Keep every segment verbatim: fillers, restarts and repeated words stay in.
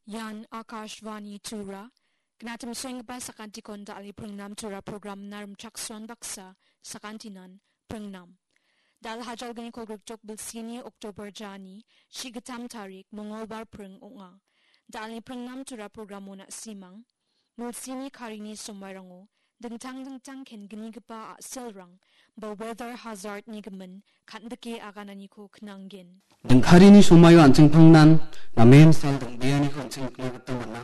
Ian Akashvani Tura. Gnatim senggipa sakantikon dal·e pringnam Tura programna rimchaksoan baksa sakantinan pringnam. Dal hajalgniko Grikjok bilsini Oktober jani, shigitam tarik, Mongolbar pring ong·a. Dal·e pringnam Tura programo na·simang. Milsini karini somairango dingtang dingtang kenggipa a·selrang ba weather hazard-ni gimin kan·dike agananiko knanggen. Dingkarini somaio an·ching pangnan namen sal dongbeaniko an·ching nikna gita man·a.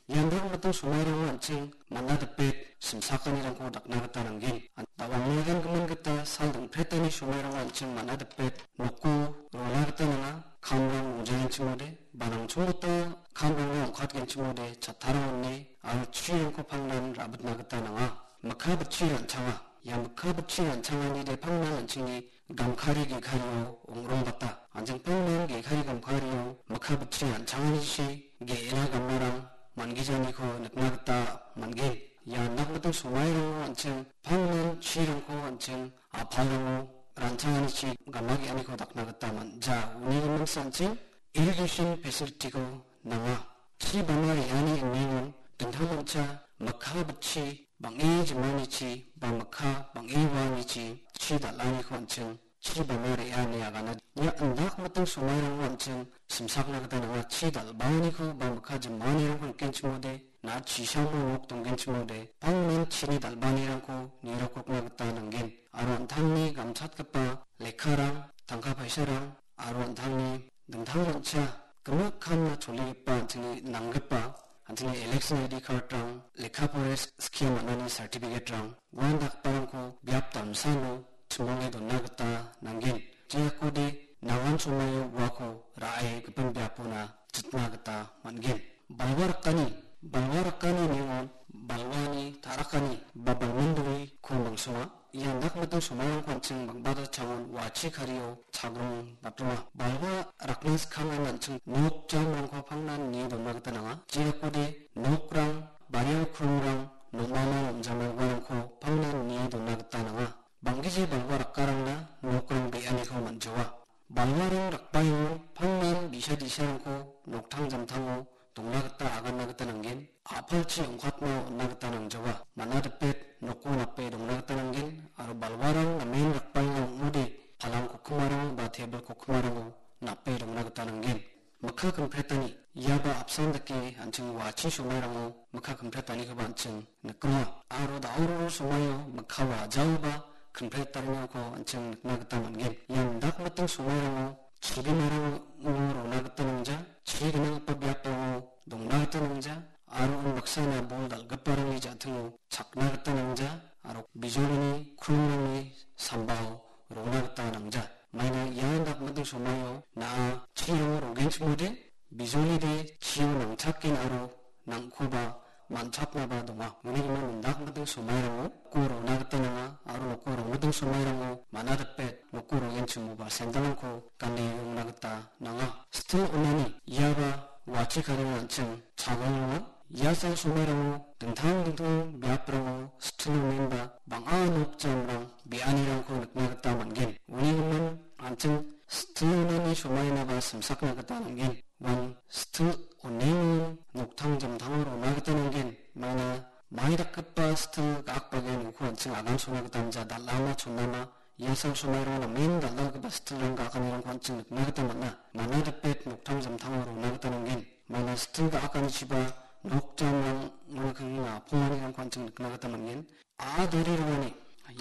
Ian dal·gipa somairango an·ching man·a dipet simsakanirangko dakna gita nanggen. Da·albegimin gita sal dongpretani somairango an·ching man·a dipet noko rona gita nanga. Kamrang rongjagenchimode, ba nangchonggipa kamrangna ong·katgenchimode, chattarangoni aro chirangko pangnan ra·bitna gita nanga. Mikka bitchi ran·changa. Ia mikka bitchi ran·changani de pangnan an·chingni gamkari ge·kario ong·rongbata. An·ching pangnan ge·kari gamkario mikka bitchi ran·changanichi ge·ena gamarang man·gijaniko nikna gita man·gen. Ia indakgipa somairango an·ching pangnan chirangko an·ching a·palrango ran·changanichi gama ge·aniko dakna gita man·ja. Uni gimin an·ching irrigation facility-ko nanga. Chi bana re·ani iningo dingtangmancha mikka bitchi bang·e jimanichi ba mikka bang·e waanichi chi dal·aniko an·ching chi bana re·a ine agana. Ia indakgipa somairango an·ching simsakna gita nanga. Chi dal·baaniko ba mikka jimanirangko nikenchimode, na·a chisamo nok donggenchimode, pangnan chini dal·baanirangko nirokna gita nanggen. Aro an·tangni gamchatgipa lekkarang, tangka paisarang, aro an·tangni dingtangmancha gimik kamna choligipa an·chingni nanggipa, an·chingni election I D card-rang, lekka pore skie man·ani certificate-rang, uandakgiparangko biap damsao chimonge dona gita nanggen. Jeakode nangan somaio uako ra·e gipin biapona jitna gita man·gen. Balwa rakani, balwa rakani ningon balwani ta·rakani ba balminduriko mangsonga. Ia indakgipa somairangko an·ching bang·bata changon wa·achi kario chagrong batronga. Balwa rakna skangna an·ching nok jamrangko pangnan nie dona gita nanga. Jeakode nokrang, bariao krongrang, nomana nomjamna uarangko pangnan nie dona gita nanga. Bang·gija balwa rakkarangna nokrang be·aniko man·jawa. Balwarang rakbaengon pangnan bi·sa di·sarangko noktang jamtango dongna gita aganna gita nanggen, a·palchi ong·katna on·na gita nangjawa. Man·a dipet noko nape dongna gita nanggen, aro balwarang namen rakbaenga ong·ode, palang kokkimarang ba tebil kokkimarango nape dongna gita nanggen. Mikka kimpretani, iaba apsan dake an·ching wa·achi somairango mikka kimpretanikoba an·ching nikroa. Aro da·oro somaio mikka wa·ajaoba kimpretariniko an·ching nikna gita man·gen. Ian dakmiting somairango chibimarango rona gita nangja, chi gnanggipa biapango dongna gita nangja, aro unbaksana bol dal·giparangni ja·tingo chakna gita nangja, aro bijolini krongrangni sambao rona gita nangja. Maina ia dakmiting somaio na·a chirango rogenchimode, bijolide chio nangchaken aro nangkoba man·chaknaba donga. Uni gimin indakmiting somairango noko rona gita nanga, aro noko rongmiting somairango man·a dipet noko rogenchimoba sandalrangko gane rongna gita nanga. Sitil onani iaba wa·achi karingo an·ching chagongonga. Ia sal somairango dingtang dingtang biaprango sitil onenba bang·a nok jamrang be·anirangko nikna gita man·gen. Uni gimin an·ching sitil onani somainaba simsakna gita man·gen. Uan sitil onengon noktang jamtango rona gita nanggen. Maina mai dakgipa sitil ga·akbagen uko an·ching agan sona gita man·ja, dal·ama chonama. Ia sal somairang namen dal·dalgipa sitilrang ga·akanirangko an·ching nikna gita man·a. Man·a dipet noktang jamtango rona gita nanggen. Maina sitil ga·akanichiba nok jamrang ong·a, kangni naponganirangko an·ching nikna gita man·gen. A·a dari rongani,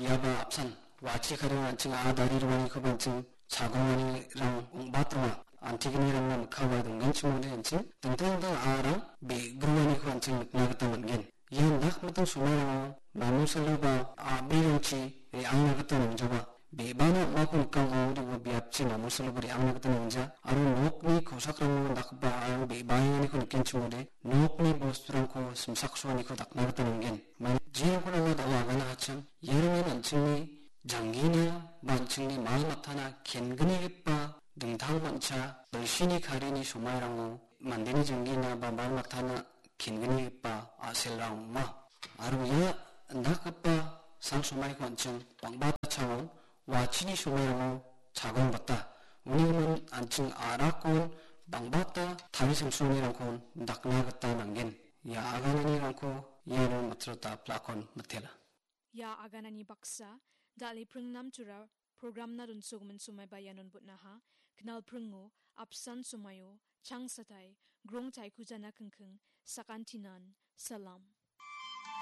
iaba apsan, wa·achi karingo an·ching a·a dari ronganikoba an·ching chagonganirang ong·bat ronga. Antignirangna mikka wae donggenchimode an·ching dingtang dingtang a·arang be·groaniko an·ching nikna gita man·gen. Ian dakmiting somairango namosaluba a·brirangchi re·angna gita nangjawa. Be·bana ong·ako nikangode ua biapchi namosaluba re·angna gita nangja, aro nokni kosakrango dakgipa a·arang be·baenganiko nikenchimode nokni bosturangko simsaksoaniko dakna gita nanggen. Maina jeranko nanga da·o agana hachim, iarangan an·chingni janggina ba an·chingni mal matana kenggipa dingtang mancha bilsini karini somairango mandeni janggina ba mal matana kenggipa a·selrang ong·a. Aro ia indakgipa sal somaiko an·ching bang·bata chango wa·achini somairango chagongbata. Uni gimin an·ching a·rakon Bangbata tari samsonirangkon dakna gita nanggen. Ia agananirangko iano matrota plakon mitela. Ia aganani baksa, dal·e pringnamtura programna donsogimin somaiba ianon botnaha, knal pringo, apsan somaio, changsatai, grong taikujana kingking, sakantinan, salam.